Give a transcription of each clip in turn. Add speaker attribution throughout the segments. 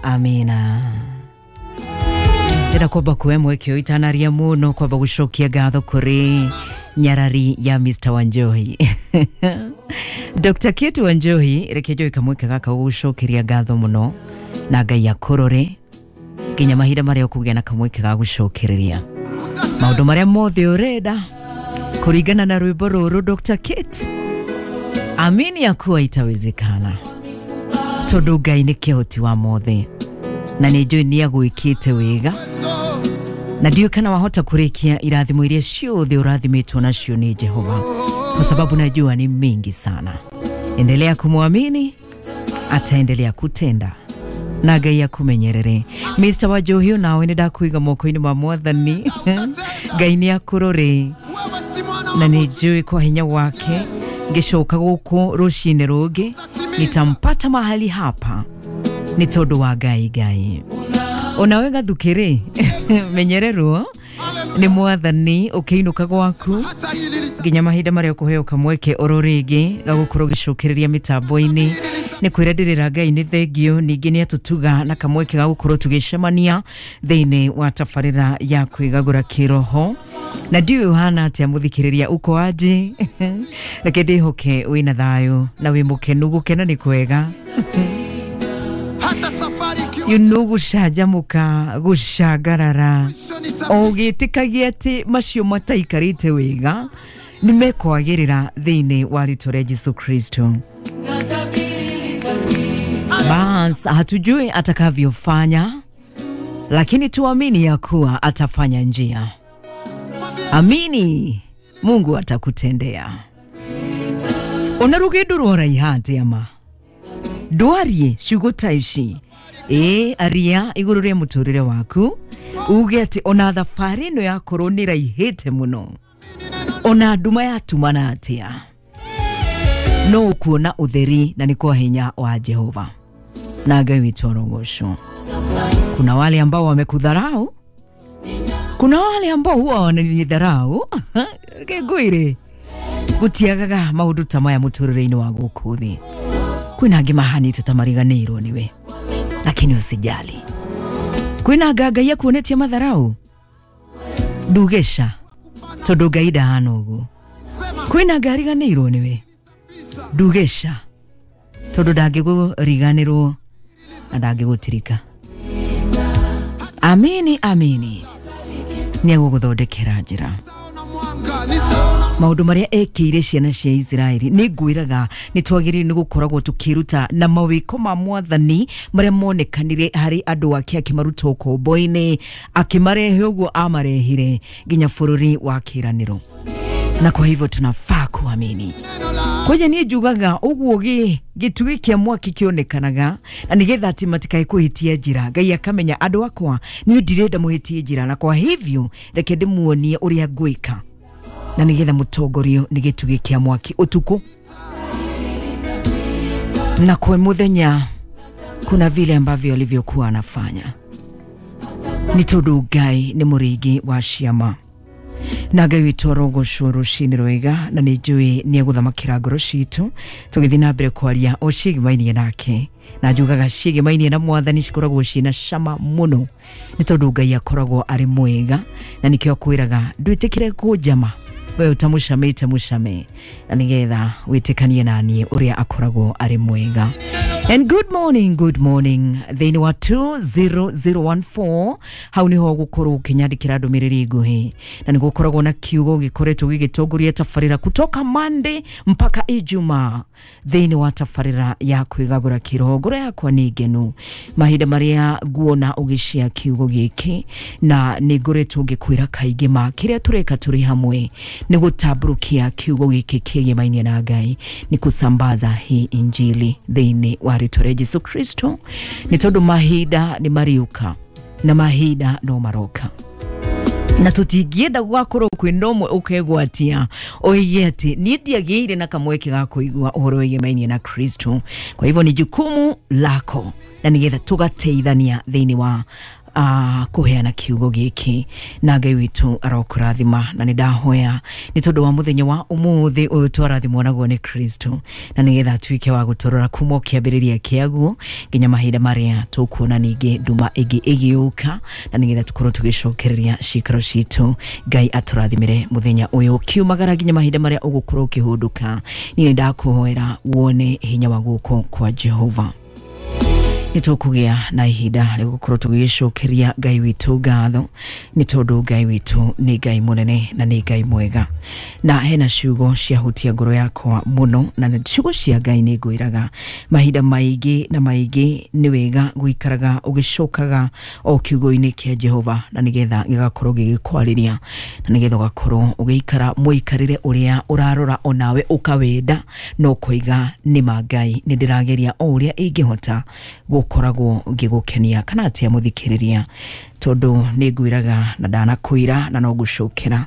Speaker 1: Amina. Ndĩrenda kwamba kuoya mweke ũyũ itanaria mũno kwamba gũcokia ngatho kũrĩ nyarari ya Mr. Wanjohi. Dr. Kate Wanjohi, reke njoe kamweke gaka gũgũcokeria ngatho mũno na Ngai akũrore nginya mahinda marĩa ũkũgĩa na kamweke ga gũcokereria maũndũ marĩa mothe ũrenda kũringana na rwĩmbo rũrũ. Dr. Kate, amini ya kuwa itawezekana tondũ Ngai nĩ kĩhoti wa mothe na nĩ njũĩ nĩ agwĩkĩte wega na ndiũĩ kana wahota kũrĩkia irathimo iria ciothe ũrathimĩtwo nacio nĩ Jehova, kwa sababu najua ni mingi sana. Endelea kumwamini, ataendelea kutenda na Ngai akumenyerere. Mr. Wanjohi, nawe nĩ ndakũiga moko-inĩ ma Mwathani. Ngai nĩ akũrore na nĩ njũĩ kwa hinya wake ngĩcoka gũkũ rũcinĩ rũngĩ nitampata mahali hapa nĩ tondũ wa Ngai. Ngai onawe gathukĩrĩ menyererwo nĩ Mwathani ũkĩinũka gwaku nginya mahinda marĩa ũkũheo kamweke oro rĩngĩ gagũkorwo gĩcokereria mĩtambo-inĩ. Nĩ kwĩra ndĩrĩra Ngai nĩ thengio, ningĩ nĩ atũtuga na kamweke ga gũkorwo tũgĩcemania thĩinĩ wa tabarĩra ya kwĩgagũra kĩroho. Na ndiũĩ ũhana atĩa mũthikĩrĩria, uko aje? Reke ndĩhoke wĩna thayũ na wĩ mũkenu. Gũkena nĩ kwega, gũcanjamũka, gũcangarara, o ũgĩtĩkagia atĩ macio mataikarĩte wega nĩ mekwagĩrĩra thĩinĩ wa rĩtwa rĩa Jesu Kristo. Bas, hatujui atakavyofanya, lakini tuamini ya kuwa atafanya njia. Amini Mungu atakutendea. Ona rugendo rwaraiha atia ma ndwarie ciugo ta ici, ĩ aria igũrũ rĩa mũtũrĩre waku, uge atĩ ona thabarĩ ĩno yakorwo nĩ raihĩte mũno, ona nduma yatumana atĩa, no ũkuona ũtheri na nĩ kwa hinya wa Jehova na Ngai witũ arogocwo. Kuna wale ambao wamekudharau, kuna wale ambao huwa wananidharau. Reke ngwĩre gũtiagaga maũndũ ta maya mũtũrĩre-inĩ wa gũkũ thĩ. Kwĩna angĩ mahanĩte ta mariganĩirwo nĩwe, lakini usijali. Kwĩna anga Ngai akuonetie matharau, ndugeca tondũ Ngai ndahana ũguo. Kwĩna anga ariganĩirwo nĩwe, ndugeca tondũ ndangĩkũriganĩrwo na ndangĩgũtirika. Amini, amini nĩ egũgũthondekera njĩra. Maũndũ marĩa ekĩire ciana cia Isiraeli, nĩ ngwĩraga nĩ twagĩrĩirwo nĩ gũkoragwo tũkĩruta na mawĩko ma Mwathani marĩa monekanire harĩ andũ ake akĩmaruta ũkombo-inĩ, akĩmarehe ũguo amarehire nginya bũrũri wa kĩĩranĩro. Na kwa hivyo tunafaa kuamini. Kwanja niĩ njugaga ũguo gĩtugĩ kĩa mwaki kĩonekanaga na nĩgetha atĩ matikae kũhĩtia njĩra. Ngai akamenya andũ akwa niĩ ndirenda mũhĩtie njĩra, na kwa hivyo reke ndĩmuonie ũrĩa ngwĩka na nĩgetha mũtongorio nĩ gĩtugĩ kĩa mwaki ũtukũ na kwa mũthenya. Kuna vile ambavyo alivyokuwa anafanya nĩ tondũ Ngai nĩ mũrĩithi wa ciama. Na Ngai witũ arogocwo rũcinĩ rwega, na nĩ njũĩ nĩ egũthamakĩra ngoro citũ tũgĩthiĩ na mbere kwaria o ciĩgĩmainie nake. Na njugaga ciĩgĩmainie na Mwathani cikoragwo ciĩna cama mũno nĩ tondũ Ngai akoragwo arĩ mwega, na nĩkĩo akwĩraga ndwĩtĩkĩre kũnjama we ũtamũcamĩte, mũcame na nĩgetha wĩtĩkanie na niĩ ũrĩa akoragwo arĩ mwega. And good morning, good morning. Thĩinĩ wa 20014 hau nĩho ũgũkorwo ũkĩnyandĩkĩra ndũmĩrĩri nguhĩ, na nĩ gũkoragwo na kiugo gĩkoretwo gĩgĩtongoria tabarĩra kutoka Monday mpaka Ijumaa thĩinĩ wa tabarĩra ya kwĩgagũra kĩroho. Ngoro yakwa nĩ ngenu mahinda marĩa nguona ũgĩcia kiugo gĩkĩ, na nĩ ngoretwo ngĩkwĩra kaingĩ ma kĩrĩa tũreka tũrĩ hamwe nĩ gũtambũrũkia kiugo gĩkĩ kĩgĩmainie na Ngai, nĩ kusambaza hii injili thĩinĩ wa rĩtwa rĩa Jesu Kristo, nĩ tondũ mahinda nĩ mariũka na mahinda no maroka, na tũtingĩenda gwakorwo kwĩna ũmwe ũkegwatia oige atĩ niĩ ndiagĩire na kamweke ga kũigua ũhoro wĩgĩmainie na Kristo. Kwa hivyo ni jukumu lako na nĩgetha tũgateithania thĩinĩ wa Kuheana kiugo giki na Ngai witu arokurathima na nĩ ndahoya nĩ tondũ wa mũthenya wa ũmũthĩ ũyũ twarathimwo naguo nĩ Kristo na nĩgetha atuĩke wa gũtũrora kuma kĩambĩrĩria kĩaguo nginya mahinda marĩa tũkuona ningĩ nduma ĩngĩ ĩgĩũka na nĩgetha tũkorwo tũgĩcokereria ciikaro citũ. Ngai atũrathimĩre mũthenya ũyũ kiumagara nginya mahinda marĩa ũgũkorwo ũkĩhũndũka. Niĩ nĩ ndakũhoera wone hinya wa guoko kwa Jehova. Nĩ tũkũgĩa na ihinda rĩa gũkorwo tũgĩcokeria Ngai witũ ngatho nĩ tondũ Ngai witũ nĩ Ngai mũnene na nĩ Ngai mwega, na hena ciugo ciahutia ngoro yakwa mũno, na ciugo cia Ngai nĩ ngwĩraga mahinda maingĩ na maingĩ nĩ wega gũikaraga ũgĩcokaga o kiugo-inĩ kĩa Jehova na nĩgetha gĩgakorwo gĩgĩkwarĩria na nĩgetha ũgakorwo ũgĩikara mũikarĩre ũrĩa ũrarora onawe ũkawenda no kũiga nĩ ma Ngai nĩ ndĩrageria o ũrĩa ingĩhota gũkoragwo ngĩgũkenia kana atia mũthikĩrĩria tondũ nĩ ngwĩraga na ndanakwĩra na no ngũcokera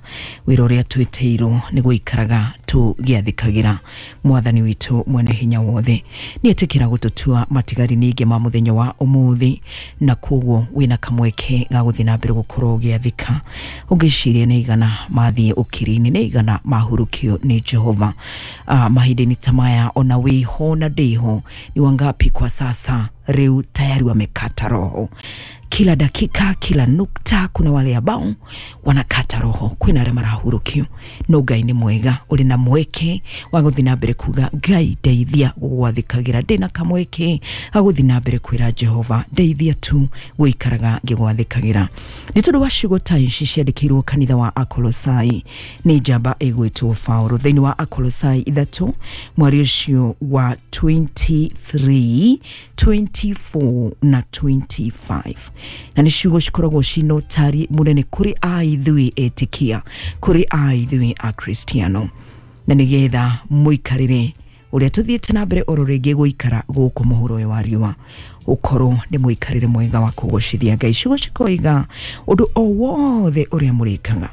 Speaker 1: wĩra ũrĩa twĩtĩirwo nĩ gũikaraga tũgĩathĩkagĩra mwathani witũ mwene hinya wothe. Nĩ etĩkĩra gũtũtua matigari ningĩ ma mũthenya wa ũmũthĩ na koguo wĩna kamweke ga gũthiĩ na mbere gũkorwo ũgĩathĩka ũngĩciria nĩ igana mathiĩ ũkiri-inĩ nĩ igana mahurũkio nĩ Jehova. Mahinda-inĩ ta maya ona wĩho na ndĩho ni wangapi kwa sasa rĩu tayari wamekata roho. Kila dakika kila nukta kuna wale ambao wanakata roho, kwina arĩa marahurũkio no Ngai nĩ mwega ũrĩ na mweke wa gũthiĩ na mbere kuga Ngai ndeithia gũgwathĩkagĩra, ndĩna kamweke ga gũthiĩ na mbere kwĩra Jehova ndeithia tu gũikaraga ngĩgwathĩkagĩra. Nĩ tondũ wa ciugo ta ici ciandĩkĩirwo kanitha wa Akolosai nĩ njamba ĩgwĩtwo Paũlũ thĩinĩ wa Akolosai 3 mweri ũcio wa 23 24 na 25, na nĩ ciugo cikoragwo cina ũtari mũnene kũrĩ a ithuĩ etĩkia, kũrĩ a ithuĩ akristiano, na nĩgetha mũikarĩre ũrĩa tũthiĩte na mbere oro rĩngĩ gũikara gũkũ mũhuro ũyũ wa riũa ũkorwo nĩ mũikarĩre mwega wa kũgocithia Ngai. Ciugo cikoiga ũndũ o wothe ũrĩa mũrĩkaga,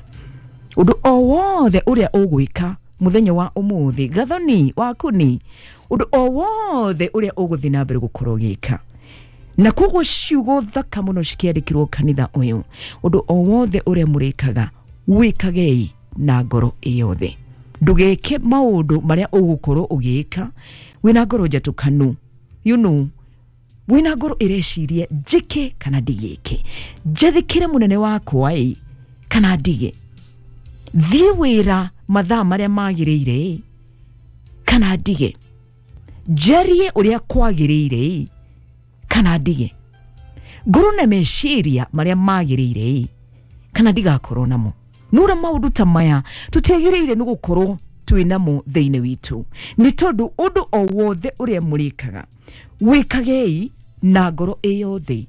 Speaker 1: ũndũ o wothe ũrĩa ũgwĩka mũthenya wa ũmũthĩ, gathoni wakuni, ũndũ o wothe ũrĩa ũgũthiĩ na mbere gũkorwo ũgĩka. Na koguo ciugo thaka mũno cikĩandĩkĩrwo kanitha ũyũ, ũndũ o wothe ũrĩa mũrĩkaga wĩkagei na ngoro ĩyothe, ndũgeke maũndũ marĩa ũgũkorwo ũgĩka wĩna ngoro njatũkanu, you know, wĩna ngoro ĩreciria njĩke kana ndigĩke, njathĩkĩre mũnene wakwa ĩ kana ndige, thiĩ wĩra mathaa marĩa magĩrĩire kana ndige, njarie ũrĩa kwagĩrĩire kana ndige, ngorwo na meciria marĩa magĩrĩire kana ndigakorwo namo. Nura maũndũ ta maya tũtiagĩrĩire nĩ gũkorwo twĩ namo thĩinĩ witũ, nĩ tondũ ũndũ o wothe ũrĩa mũrĩkaga wĩkagei na ngoro ĩyothe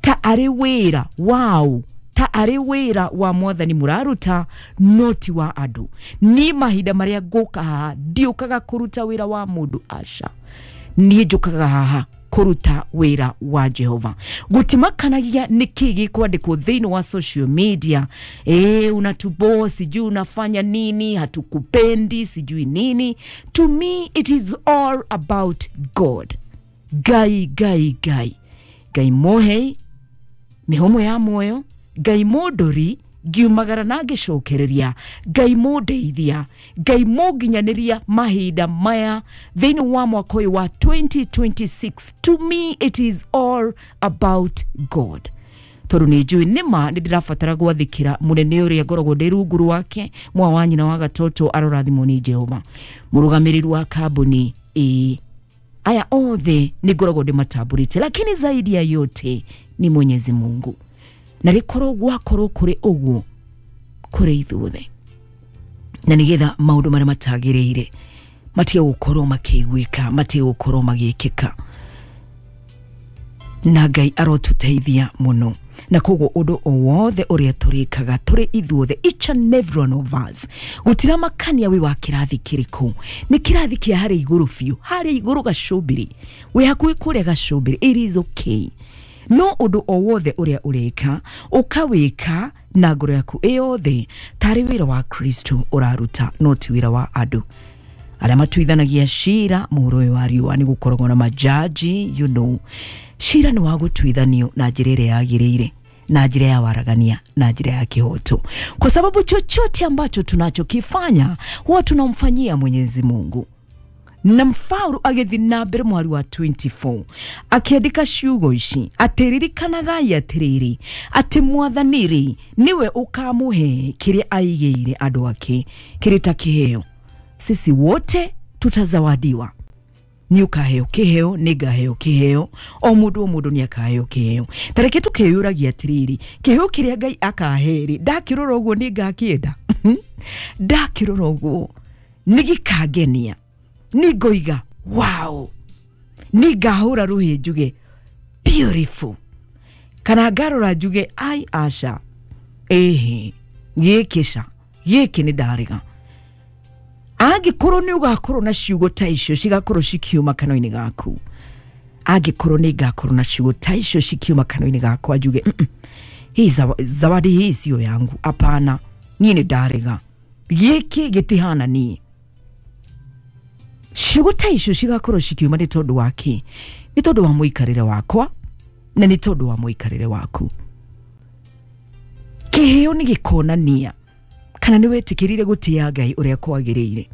Speaker 1: ta arĩ wĩra wao, ta arĩ wĩra wa mwathani mũraruta no ti wa andũ. Niĩ mahinda marĩa ngũka haha ndiũkaga kũruta wĩra wa mũndũ, aca, niĩ njũkaga haha kũruta wĩra wa Jehova. Gũtimakanagia nĩkĩ gĩkwandĩkwo thĩinĩ wa social media, unatubo sijui unafanya nini, hatukupendi sijui nini. To me it is all about God. Ngai Ngai Ngai Ngai mũhei mĩhũmũ ya muoyo, Ngai mũndũri ngiumagara na ngĩcokereria, Ngai mũndeithia, Ngai mũnginyanĩria mahinda maya thĩinĩ wa mwaka ũyũ wa 2026. To me it is all about God. Tondũ nĩ njũĩ nĩma nĩ ndĩrabatara gwathĩkĩra mũnene ũrĩa ngoragwo ndĩ rungu rwake, mwa wa nyina wa gatoto arorathimwo nĩ Jehova, mũrũgamĩrĩri wa kambuni ĩ aya othe nĩ ngoragwo ndĩmatambũrĩte, lakini zaidi ya yote ni Mwenyezi Mungu. Na rĩkorwo gwakorwo kũrĩ ũguo kũrĩ ithuothe, na nĩgetha maũndũ marĩa matagĩrĩire matige gũkorwo makĩiguĩka, matige gũkorwo magĩkĩka, na Ngai arotũteithia mũno. Na koguo ũndũ o wothe ũrĩa tũrĩkaga tũrĩ ithuothe, each and every one of us, gũtiramakania wĩ wa kĩrathi kĩrĩkũ, nĩ kĩrathi kĩa harĩa igũrũ biũ, harĩa igũrũ gacũmbĩrĩ, wĩ hakuhĩ kũrĩa gacũmbĩrĩ, it is okay. No ũndũ o wothe ũrĩa ũrĩka ũkawĩka na ngoro yaku ĩyothe tarĩ wĩra wa Kristo ũraruta no ti wĩra wa andũ arĩa matuithanagia cira mũhuro ũyũ wa riũa. Nĩ gũkoragwo na majaji, you know, Cira nĩ wa gũtuithanio na njĩra ĩrĩa yagĩrĩire, na njĩra ya waragania, na njĩra ya kihoto, kwa sababu chochote ambacho tunachokifanya huwa tunamfanyia Mwenyezi Mungu. Na Paulo agĩthiĩ na mbere mwari wa 24 akĩandĩka ciugo ici atĩ ririkanagai atĩrĩrĩ atĩ mwathani rĩ nĩwe ũkamũhe kĩrĩa aigĩire andũ ake kĩrĩ ta kĩheo. Sisi wote tutazawadiwa. Nĩ ũkaheo kĩheo, nĩ ngaheo kĩheo, o mũndũ o mũndũ nĩ akaheo kĩheo. Ta reke tũkeyũragia atĩrĩrĩ, kĩheo kĩrĩa Ngai akahe rĩ, ndakĩrora ũguo nĩ ngakĩenda? Ndakĩrora ũguo nĩ gĩkangenia, nĩ ngoiga wow, nĩ ngahũra rũhĩ njuge beautiful, kana ngarora njuge ai aca, ĩhĩ gĩkĩ ca, gĩkĩ nĩ ndarega. Angĩkorwo nĩ ũgakorwo na ciugo ta icio cigakorwo cikiuma kanua-inĩ gaku, angĩkorwo nĩ ngakorwo na ciugo ta icio cikiuma kanua-inĩ gakwa njuge hii zawadi hii sio yangu, hapana, niĩ nĩ ndarega, gĩkĩ gĩtihana niĩ. Ciugo ta icio cigakorwo cikiuma nĩ tondũ wa kĩ? Nĩ tondũ wa mũikarĩre wakwa na nĩ tondũ wa mũikarĩre waku. Kĩheo nĩ gĩkonania kana nĩ wetĩkĩrire gũtĩa Ngai ũrĩa kwagĩrĩire,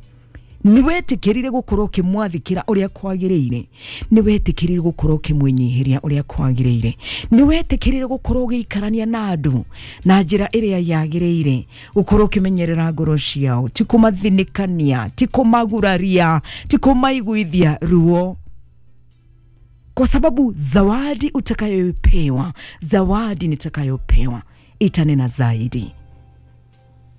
Speaker 1: nĩ wetĩkĩrire gũkorwo ũkĩmwathĩkĩra ũrĩa kwagĩrĩire, nĩ wetĩkĩrire gũkorwo ũkĩmwĩnyihĩria ũrĩa kwagĩrĩire, nĩ wetĩkĩrire gũkorwo ũgĩikarania na andũ na njĩra ĩrĩa yagĩrĩire, gũkorwo ũkĩmenyerera ngoro ciao, ti kũmathinĩkania, ti kũmaguraria, ti kũmaiguithia ruo. Kwa sababu zawadi utakayopewa, zawadi nitakayopewa itanena zaidi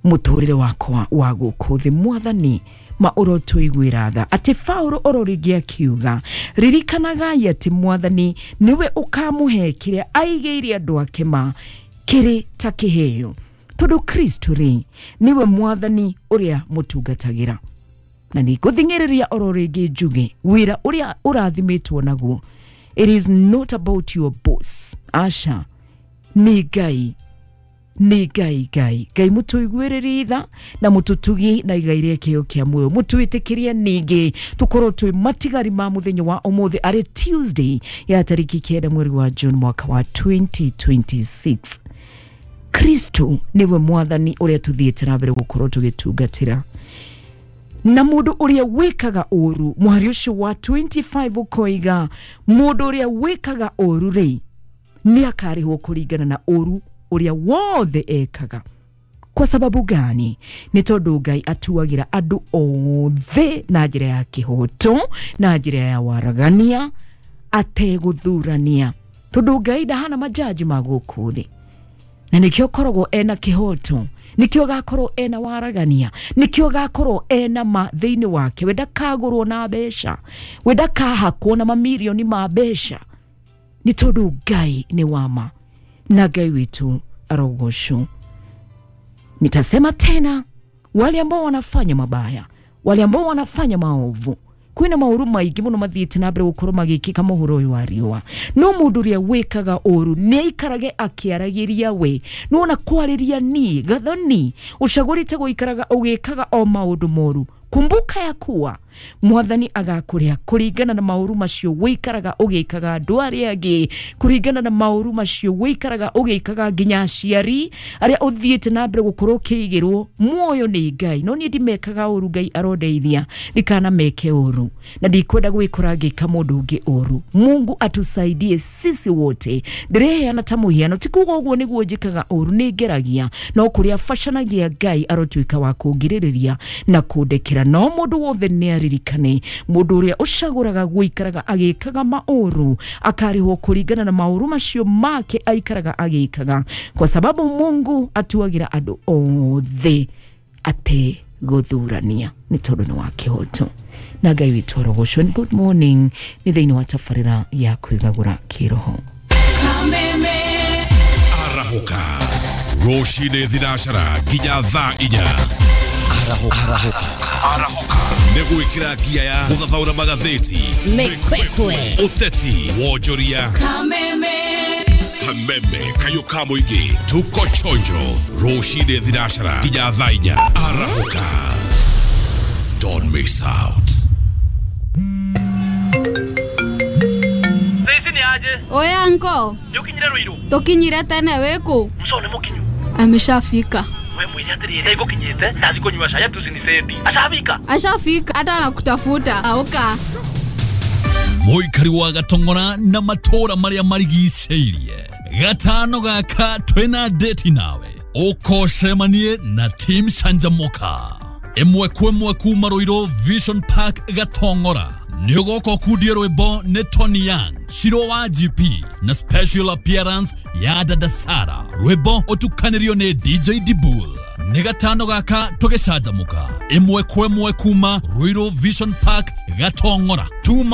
Speaker 1: mũtũrĩre wakwa wa gũkũ thĩ. Mwathani ma ũrotũiguĩra tha. Atĩ Paulo oro rĩngĩ akiuga ririkanagai atĩ mwathani nĩwe ũkamũhe kĩrĩa aigĩire andũ ake ma kĩrĩ ta kĩheo, tondũ Kristo rĩ nĩwe mwathani ũrĩa mũtungatagĩra. Na nĩ ngũthing'ĩrĩria oro rĩngĩ njuge wĩra ũrĩa ũrathimĩtwo naguo, it is not about your boss, aca, nĩ Ngai, nĩ Ngai, Ngai, Ngai mũtũiguĩrĩrie tha na mũtũtugi na igai rĩa kĩheo kĩa muoyo, mũtwĩtĩkĩrie ningĩ tũkorwo twĩ matigari ma mũthenya wa ũmũthĩ arĩ Tuesday ya tarĩki 9 mweri wa June mwaka wa 2026. Kristo nĩwe mwathani ũrĩa tũthiĩte na mbere gũkorwo tũgĩtungatĩra. Na mũndũ ũrĩa wĩkaga ũru, mwari ũcio wa 25 ũkoiga mũndũ ũrĩa wĩkaga ũru rĩ nĩ akarĩhwo kũringana na ũru ũrĩa wothe ekaga. Kwa sababu gani? Nĩ tondũ Ngai atuagĩra andũ othe na njĩra ya kĩhoto, na njĩra ya waragania, ategũthurania, tondũ Ngai ndahana majaji ma gũkũ thĩ. Na nĩkĩo koragwo ena kĩhoto, nĩkĩo gakorwo ena waragania, nĩkĩo gakorwo ena ma thĩinĩ wake. We ndakagũrwo na mbeca, we ndakahakwo na mamirioni ma mbeca, nĩ tondũ Ngai nĩ wama na Ngai witũ arogocwo. Nitasema tena, wale ambao wanafanya mabaya, wale ambao wanafanya maovu, kwĩna maũru maingĩ mũno mathiĩte na mbere gũkorwo magĩkĩka mũhuro ũyũ wa riũa. No mũndũ ũrĩa wĩkaga ũru nĩ aikarage akĩaragĩria we, nĩwona kwarĩria niĩ gathoni ũcagũrĩte gũikaraga ũgĩkaga o maũndũ moru. Kumbuka ya kuwa mwathani agakũrĩha kũringana na maũru macio wĩikaraga ũgĩkaga andũ arĩa angĩ, kũringana na maũru macio wĩikaraga ũgĩkaga nginya aciari arĩa ũthiĩte na mbere gũkorwo ũkĩigĩrwo muoyo nĩ Ngai. No niĩ ndimekaga ũru, Ngai arondeithia ndikana meke ũru, na ndikwenda gwĩkora ngĩka mũndũ ũngĩ ũru. Mungu atusaidie sisi wote. Ndĩreheana ta mũhiano, ti kuga ũguo nĩguo njĩkaga ũru, nĩ ngeragia, no kũrĩa bacanagia Ngai arotuĩka wa kũngirĩrĩria na kũndekera. No mũndũ wothe nĩ aririkane mũndũ ũrĩa ũcagũraga gũikaraga agĩkaga maũru akarĩhwo kũringana na maũru macio make aikaraga agĩkaga, kwa sababu Mungu atuagĩra andũ othe ategũthurania, nĩ tondũ nĩ wa kĩhoto. Na Ngai witũ arogocwo. Good morning nĩ thĩinĩ wa tabarĩra ya kwĩgagũra kĩroho.
Speaker 2: Arahũka rũcinĩ thinacara nginya thaa 4. Arahũka nĩ gwĩkĩra ngia ya gũthathaũra magathĩti,
Speaker 3: Mĩkwekwe,
Speaker 2: ũteti, wonjoria, kameme, kayũ ka mũingĩ, tuko chonjo rũcinĩ thinacara nginya thaa 4. Arahũka, don't miss out.
Speaker 4: Ici nĩ
Speaker 3: Niaje?
Speaker 4: Oya nko.
Speaker 3: Nĩ ũkinyire Ruiru?
Speaker 4: Tukinyire tene wĩkũ?
Speaker 3: Muco nĩ mũkinyu.
Speaker 4: Ameshafika.
Speaker 3: We mwĩre atĩrĩrĩ, ngũkinyĩte ndathi kũnyua cai ati ucinisendi. Ashafika.
Speaker 4: Ashafika hata anakutafuta. Auka.
Speaker 5: Mũikari wa Gatong'ora na matũũra marĩa marigicĩirie gatano gaka twĩna date nawe ũkocemanie na team Canjamũka ĩmwe kwa ĩmwe kuma Ruiru Vision Park Gatong'ora. Nĩ ũgoka ũkundie rwĩmbo nĩ Tony Young, Shiro wa GP na special appearance ya Dada Sara. Rwĩmbo ũtukanĩrio nĩ DJ Dibul. Nĩ gatano gaka tũgĩcanjamũka ĩmwe kwa ĩmwe kuma Ruiru Vision Park Gatong'ora. Tuma.